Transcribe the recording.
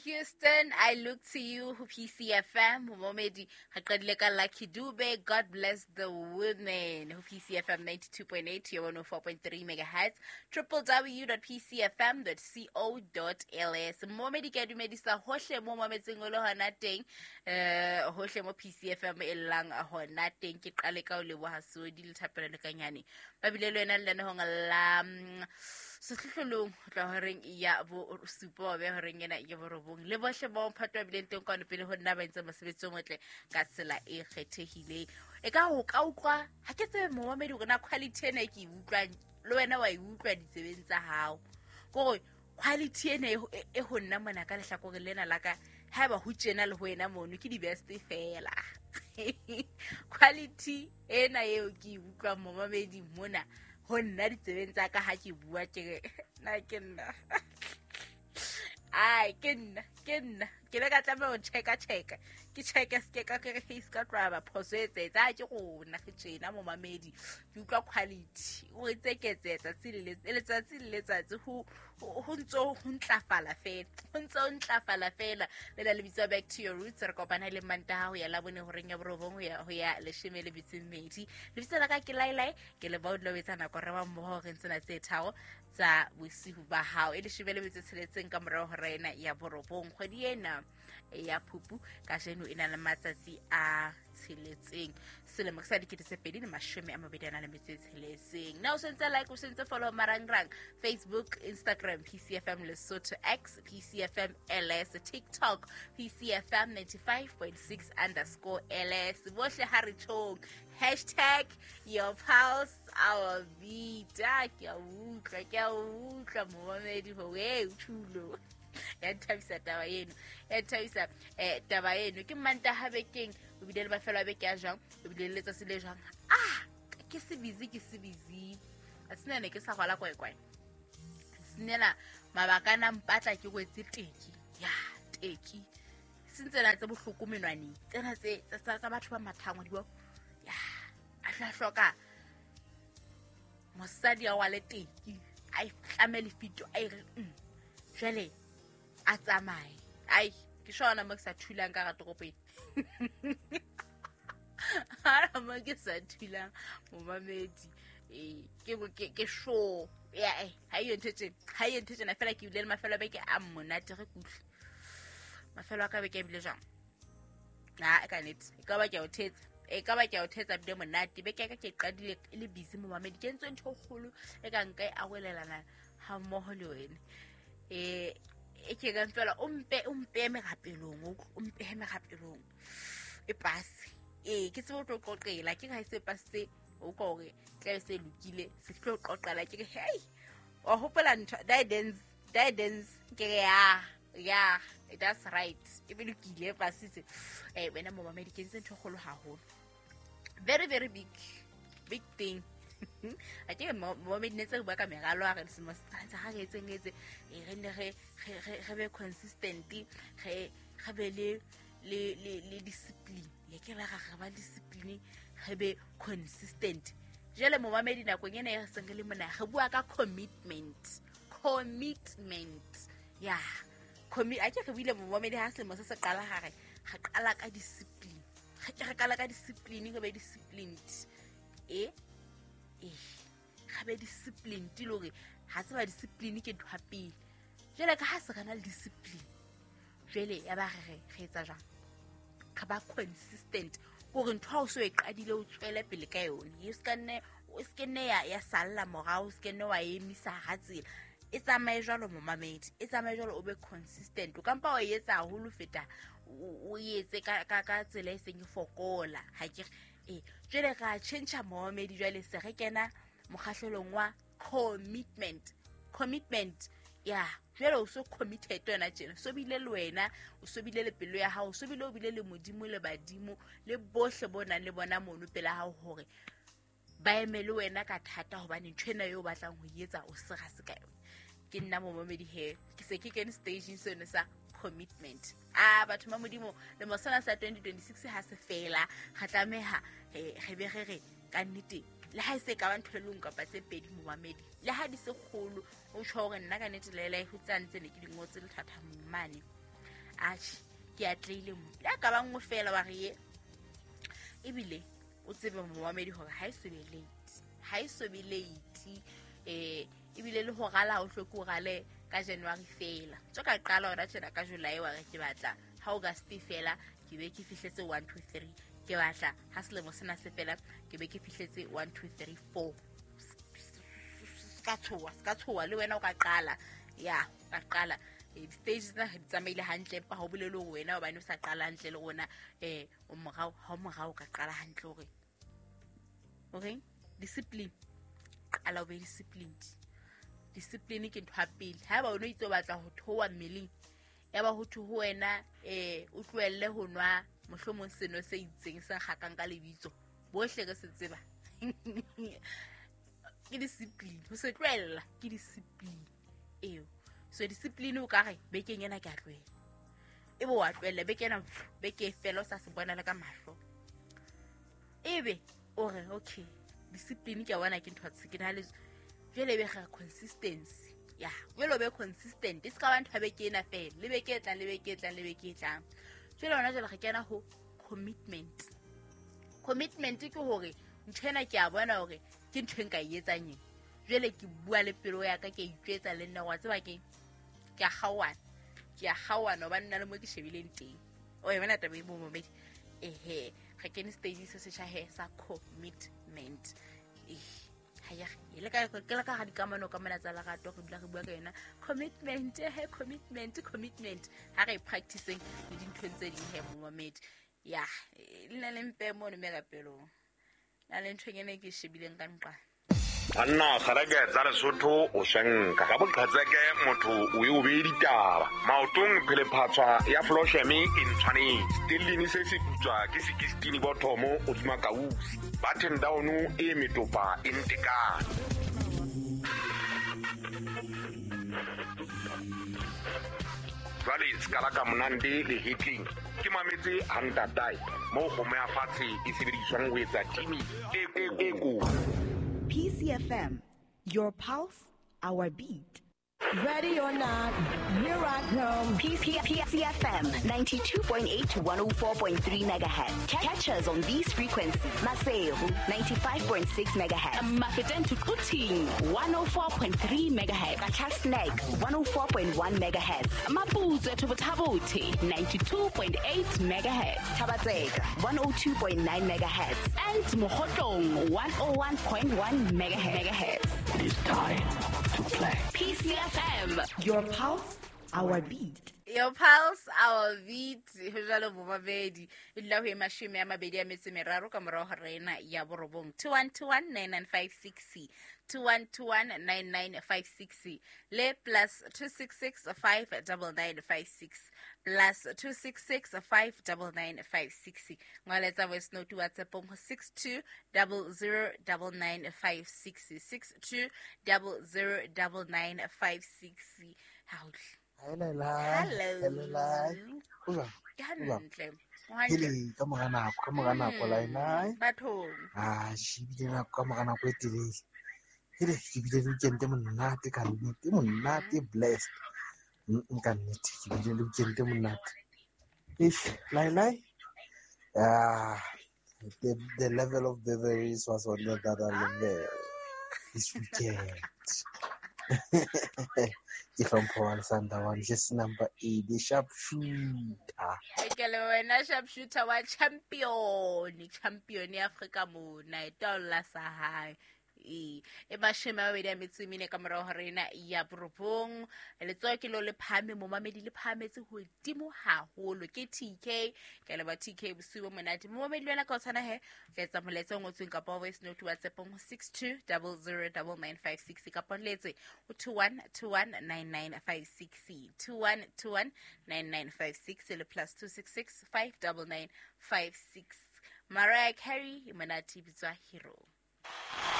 Houston, I Look to You ho PCFM. Momedi re qadile ka Lucky Dube, God Bless the Women ho PCFM 92.8 to 104.3 megahertz, www.pcfm.co.ls. Momedi ke a dumedisa hohle mo mametseng o le hona teng, hohle mo PCFM e llang hona teng. Ke qale ka ho leboha Sodi le Thapelo le Kanyane ba bile le wena lenanehong la sehlohlolong ho tloha horeng ya bosupa wa beha horeng ena ya borobong, le bohle ba mphato ba bileng teng kwano pele ho nna ba entse mosebetsi o motle ka tsela e kgethehileng. E ka ho ka utlwa ha ke tsebe momamedi hore na quality ena e ke e utlwang le wena wa e utlwa ditsebeng tsa hao, kore quality ena e ho nna mona ka lehlakoreng lena la ka, haeba ho tjena le ho wena mono ke di-best fela. Quality ena eo ke e utlwang momamedi mona ho nna ditsebeng tsa ka ha ke bua, ke re na ke nna, ai ke nna, ke nna ke le ka tlameha ho checka checka, ke checke se ke ka ke re se ka tloha ba phoso e etsetsa ke rona re tjena momamedi. Ke utlwa quality o tseketse letsatsi le letsatsi le letsatsi, ho ntso ho ntlafala fela, ho ntso ho ntlafala fela. Le la lebitso Back to Your Roots, re kopana le Mantaha ho ya Labone horeng ya borobong ho ya leshome le metso e mmedi. Lebitso la ka ke Lailai, ke le ba o etsa nako re ba mmoho re tsena tse tharo tsa bosiu ba hao e leshome le metso e tsheletseng ka morao hora ena ya borobong. Kgwedi ena ya Phupu kajeno e na le matsatsi a tsheletseng, selemo sa 2026. Na o sentse like, o sentse follow marangrang Facebook, Instagram PCFM Lesotho, X PCFM LS, TikTok PCFM 95.6 underscore LS. Bohle ha re tjhong hashtag your pulse our beat. Ke a utlwa, ke a utlwa momamedi hore o thulo ya nthabisa taba eno, ya nthabisa taba eno. Ke Mantaha bekeng, o bile le mafelo a beke a jwang, o bile le letsatsi le jwang. Ke se busy, ke se busy a sena ne ke sa rwala kwaekwae senela mabaka a na mpatla ke kwetse teki ya teki seng tsena tse bohloko menwaneng tsena tse tsa batho ba mathangwa di ya a tla hloka mosadi a wale teki a itlame lefito a ire jwale a tsamaye. Ai ke shona mo ke sa thulang ka ga toropeng, ha mo ke sa thulang momamedi ke sure ya ha iyo ntho tjena, ha iyo ntho tjena fela. Ke bile le mafelo a beke a monate re kuhle mafelo a ka beke a bile jwang. Ha ka nnete e ka ba ke a o thetsa, e ka ba ke a o thetsa bile monate beke ya ka. Ke qadile e le busy momamedi, ke entse ntho e kgolo e ka nka e arolelana ha mmoho le wena. E ke reng fela o mpe merapelong, o mpe merapelong e pase ke tsebe o tlo qoqela ke ha e se pasitse o ka hore tla se lokile se tlo qoqela ke re hey wa hopola ntho dance ke re ya that's right e be lokile pasitse. Wena momamedi ke ntse ntho e kgolo haholo, very very big thing. A ke momamedi ne tse re bua ka meralo a re selemo se ha re etseng etse re nne re be consistent, re be le discipline. Ya ke re ba discipline, re be consistent. Jwale momamedi nakong ena e re seng re le mona re bua ka commitment ya a ke re buile momamedi ha selemo se se qala ha re qala ka discipline, re qala ka discipline, re be disciplined re be disciplined le hore ha tseba discipline ke ntho ya pele. Jwale ka ha se re na le discipline jwale ya ba re etsa jwang, re ba consistent hore ntho ha o so e qadile o tswele pele ka yone, e se ke nne ya salla morao, o se ke nne wa emisa ha tsela e tsamaye jwalo momamedi, e tsamaye jwalo, o be consistent. O kampa wa etsa haholo feta o etse ka tsela e seng e fokola. Ha ke jwale ra change momamedi, jwale se re kena mokgahlelong wa commitment ya jwale o so committed wena tjena, so bile le wena o so bile le pelo ya hao, so bile o bile le Modimo le badimo le bohle bo nang le bona mono pela hao hore ba eme le wena ka thata, hobane ntho ena eo o batlang ho etsa o sera se ka yona. Ke nna momamedi he ke se ke kene stageng seno sa commitment. Batho ba Modimo le mosana sa 2026 ha se fela re tlameha re be re re ka nnete le ha e se ka ba ntho e leng kapa tse pedi momamedi, le ha di se kgolo o tjho hore nna ka nnete le ho tsantse ne ke di ngotse lethathamong mane. Atjhe, ke atlehile mo. Le a ka ba nngwe fela wa re ye. Ebile o tsebe momamedi hore ha e so be late. Ha e so be late. Ebile le ho rala o hloke o rale ka January fela. Tso ka qala hona tjena ka July wa re ke batla ha August fela ke be ke fihletse 1 2 3. Ke batla ha selemo sena se fela ke be ke fihletse 1 2 3 4. Ska tshoha le wena o ka qala. Ya, ka qala. Stage tsena di tsamaile hantle empa ha o bolele hore wena hobane o sa qala hantle le rona o morao ha o morao ka qala hantle hore okay discipline qala o be disciplined. Discipline ke ntho ya pele. Haeba o no itse o batla ho theoha mmeleng ya ba ho thwe ho wena o tlohelle ho nwa mohlomong seno se itseng se kgakang ka lebitso bohle re se tseba. Ke discipline ho se tlohella ke discipline eo. So discipline o ka re bekeng ena ke a tlohela, ebe wa tlohella beke ena, beke fela o sa se bona le ka mahlo, ebe o re okay discipline ke a bona ke ntho tse ke na le jwale ebe ga consistency. Ya jwale o be consistent, e se ka ba ntho ya beke ena fela le beke e tlang le beke e tlang le beke e tlang. Jwale hona jwale re kena ho commitment. Commitment ke hore ntho ena ke a bona hore ke ntho e nka e etsang eng. Jwale ke bua le pelo ya ka, ke a itjwetsa le nna wa tseba ke a kgaoana hobane nna le mo ke shebileng teng. O e bona taba e momamedi. Ehe, re kene stage se setjha he sa commitment. E le ka ke le ka ga dikamano ka mona tsa lerato re dula re bua ka yona commitment. He commitment ha re practicing le dinthong tse ding he momamedi. Ya le na le mpe mono me ka pelong na le ntho ene ke shebileng ka nqa. Banna kgareke tsa Lesotho o shanka ka boqhetseke motho o e o be ditaba maotong phelephatswa ya flosheme e ntshwanetse stellini se se putswa ke 16 bothomo o tsuma kausi button down e metopa e ntekane. Jwale skala ka monande le hitling ke mametse hantatai mo kgomo ya fatshe e sebediswang ho etsa timi e ko. PCFM, your pulse, our beat. Ready or not, here I come. PCFM 92.8 to 104.3 megahertz. Catch us on these frequencies. Maseru 95.6 megahertz. Mafeteng to Quthing 104.3 megahertz. Qacha's Nek 104.1 megahertz. Maputsoe to Botha-Bothe 92.8 megahertz. Thaba-Tseka 102.9 megahertz. And Mokhotlong 101.1 megahertz. It is time to play. PCFM, your pulse, our beat. Your pulse, our beat. Ho jwalo bomamedi. E dula ho e 23 ka morao ho rena ya borobong. 21219956 21219956 le plus 266 59956 plus 266 59956. Ngwaletsa voice note WhatsApp ho 62009956 62009956. Hello. Hello. Hantle. Hele ka mora nako laena. Bathong. Ah, shibile nako ka mora nako e telele. Hele ke bile le weekend monate ka nnete, monate blessed. Nka nnete ke bile le weekend monate. If lai. Ah, the level of beverages was on the other level this weekend. Ke hlompho wa Sandawana, just number 8, the sharp shooter. Ke le wena sharp shooter wa champion ya Afrika mona e taolla sa hae. E 24 ka morao ho rena ya borobong. Letsoho ke lo le phahame, momamedi le phahametse hodimo haholo ke TK. Ke leba TK bosiu bo monate. Momamedi le wena ka o tshwana he, tla etsa molaetsa o ngotsweng kapa voice note WhatsApp ho 62009956 kapa letse ho 21219956 21219956 le plus 266 59956. Mariah Carey, monate bitswa Hero.